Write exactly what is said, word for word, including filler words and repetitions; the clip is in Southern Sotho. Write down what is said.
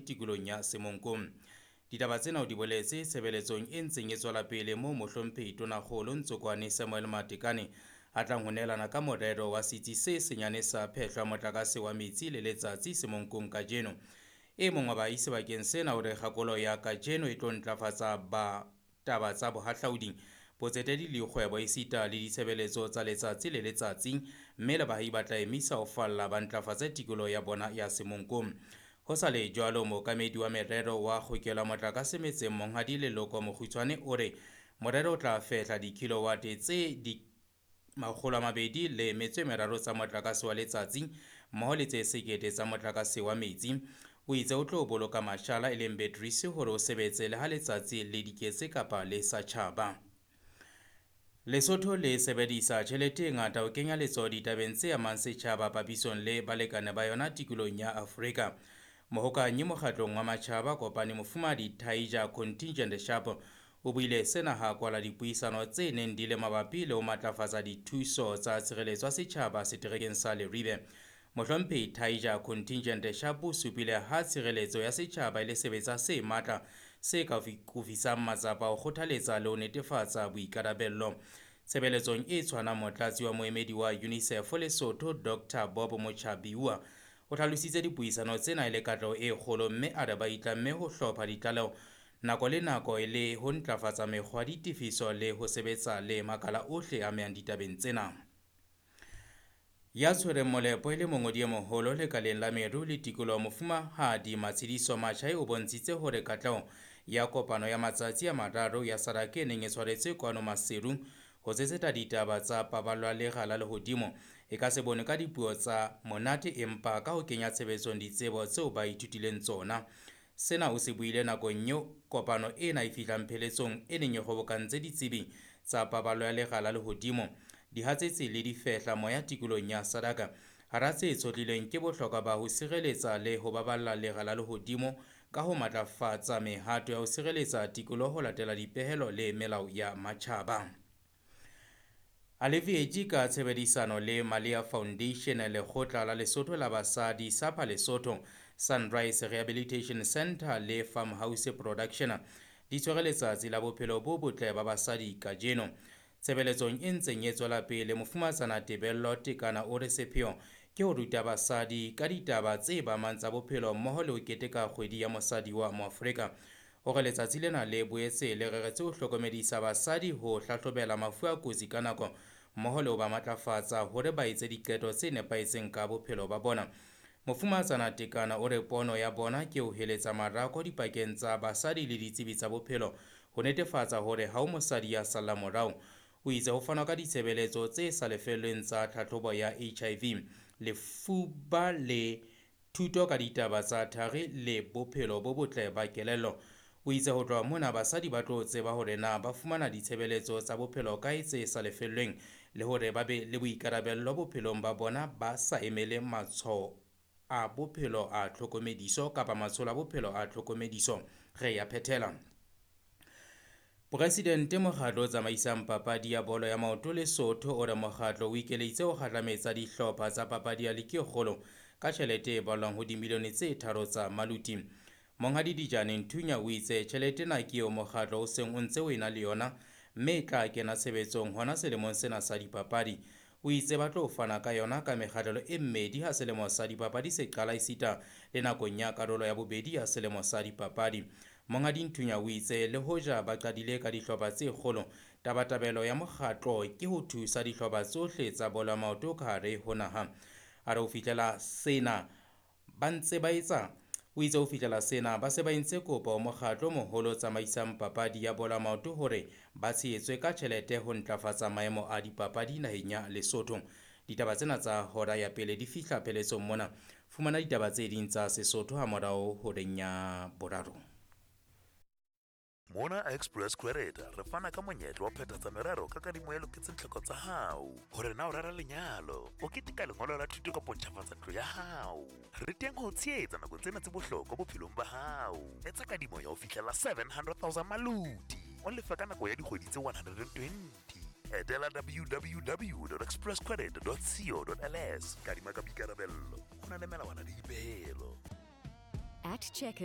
tikolong ya Semonkong. Ditaba tsena o di boletse tshebeletsong e ntseng e tswela pele moo mohlomphehi Tonakgolo Ntsokoane Samuel Matekane a tlang ho neelana ka morero wa setsi se senyane sa phehlo ya motlakase wa metsi le letsatsi Semonkong kajeno. E mong wa baahi sebakeng sena o re kgakolo ya kajeno e tlo ntlafatsa ba taba tsa bohahlaudi, botsetedi le dikgwebo esita le ditshebeletso tsa letsatsi le letsatsi, mme le baahi ba tla emisa ho falla ba ntlafatse tikoloho ya bona ya Semonkong. Ho sa le jwalo, mookamedi wa merero wa kgokelo ya motlakase metseng Monghadi Leloko Mokgutshwane o re morero o tla fehla dikilowate tse di makgolo a mabedi le metso e meraro tsa motlakase wa letsatsi mmoho le tse sekete tsa motlakase wa metsi. O itse o tlo boloka mashala e leng batteries hore o sebetse le ha letsatsi le diketse kapa le sa tjhaba. Lesotho le sebedisa tjhelete e ngata ho kenya letsoho ditabeng tse amang setjhaba papisong le balekane ba yona tikolong ya Afrika. Mohokanyi mokgatlong wa matjhaba kopane mofumahadi Taija Contingent Sharp o buile sena ha kwala dipuisano tse neng di le mabapi le ho matlafatsa dithuso tsa tshireletso ya setjhaba seterekeng sa Leribe. Mohlomphehi Taija Contingent Sharp o supile ha tshireletso ya setjhaba e le sebetsa se matla se ka kofisang matsapa ho kgothaletsa le ho netefatsa boikarabello. Tshebeletsong e tshwanang, motlatsi wa moemedi wa UNICEF Lesotho Doctor Bob Mochabiwa o hlalositse dipuisano tsena e le katleho e kgolo, mme a re ba itlamme ho hlopha ditlaleho nako le nako e le ho ntlafatsa mekgwa ya ditefiso le ho sebetsa le makala ohle a amehang ditabeng tsena. Ya tshwereng molepo e le mongodi e moholo lekaleng la meru le tikoloho mofumahadi Matshidiso Machai o bontshitse hore katleho ya kopano ya matsatsi a mararo ya SADC e neng e tshwaretswe kwano Maseru ho tsetseta ditaba tsa paballo ya lera la lehodimo e ka se bonwe ka dipuo tsa monate empa ka ho kenya tshebetsong ditsebo tseo ba ithutileng tsona. Sena o se buile nakong eo kopano ena e fihlang pheletsong e neng e kgobokantse ditsebi tsa paballo ya lera la lehodimo, dihatsetsi le difehla moya tikolong ya SADC. Hara tse tshohlilweng ke bohlokwa ba ho sireletsa le ho baballa lera la lehodimo ka ho matlafatsa mehato ya ho sireletsa tikoloho ho latela dipehelo le melao ya matjhaba. Alleviate ka tshebedisano le Malia Foundation, Lekgotla la Lesotho la Basadi, SAPA Lesotho, Sunrise Rehabilitation Center le Farmhouse Production di tshwere letsatsi la bophelo bo botle ba basadi kajeno. Tshebeletsong e ntseng e tswela pele, mofumatsana Tebello Tekana o re sepheo ke ho ruta basadi ka ditaba tse ba amang tsa bophelo mmoho le ho keteka kgwedi ya mosadi wa Moafrika. O re letsatsi lena le boetse le reretse ho hlokomedisa basadi ho hlahlobela mafu a kotsi ka nako mmoho le ho ba matlafatsa hore ba etse diqeto tse nepahetseng ka bophelo ba bona. Mofumatsana Tekana o re pono ya bona ke ho heletsa marako dipakeng tsa basadi le ditsebi tsa bophelo ho netefatsa hore ha ho mosadi ya sallang morao. O itse ho fanwa ka ditshebeletso tse sa lefellweng tsa tlhahlobo ya H I V, lefuba le thuto ka ditaba tsa thari le bophelo bo botle ba kelello. O itse ho tloha mona basadi ba tlo tseba hore na ba fumana ditshebeletso tsa bophelo kae tse sa lefellweng le hore ba be le boikarabello bophelong ba bona ba sa emele matshwao a bophelo a tlhokomediso kapa matsholo a bophelo a tlhokomediso. Re ya phethela. Presidente mokgatlo o tsamaisang papadi ya bolo ya maoto Lesotho o re mokgatlo o ikeleditse ho kgahlametsa dihlopha tsa papadi ya ligi e kgolo ka tjhelete e balwang ho dimilione tse tharo tsa maluti. Monghadi Dijane Nthunya o itse tjhelete ena ke eo mokgatlo o seng o ntse o ena le yona mme e tla kena tshebetsong hona selemong sena sa dipapadi. O itse ba tlo fana ka yona ka mekgahlelo e mmedi ha selemo sa dipapadi se qala esita le nakong ya karolo ya bobedi ya selemo sa dipapadi. Monghadi Nthunya o itse le hoja ba qadile ka dihlopha tse kgolo, tabatabelo ya mokgatlo ke ho thusa dihlopha tsohle tsa bolo ya maoto ka hare ho naha. A re ho fihlela sena ba ntse ba etsa O itse ho fihlela sena ba se ba entse kopo ho mokgatlo o moholo o tsamaisang papadi ya bolo ya maoto hore ba tshehetswe ka tjhelete ho ntlafatsa maemo a dipapadi naheng ya Lesotho. Ditaba tsena tsa hora ya pele di fihla pheletsong mona. Fumana ditaba tse ding tsa Sesotho ha morao horeng ya boraro. Mona Express Credit re fana ka monyetla wa phethatsa merero ka kadimo e loketseng tlhoko tsa hao. Hore na o rera lenyalo, o keteka lengolo la thuto kapa o ntjhafatsa ntlo ya hao. Re teng ho tshehetsa nakong tsena tse bohlokwa bophelong ba hao. Etsa kadimo ya ho fihlela seven hundred thousand maluti. O lefa ka nako ya dikgwedi tse one hundred and twenty. Etela w w w dot express credit dot co dot l s. Kadima ka boikarabello. Ho na le melawana le dipehelo. At Checkers.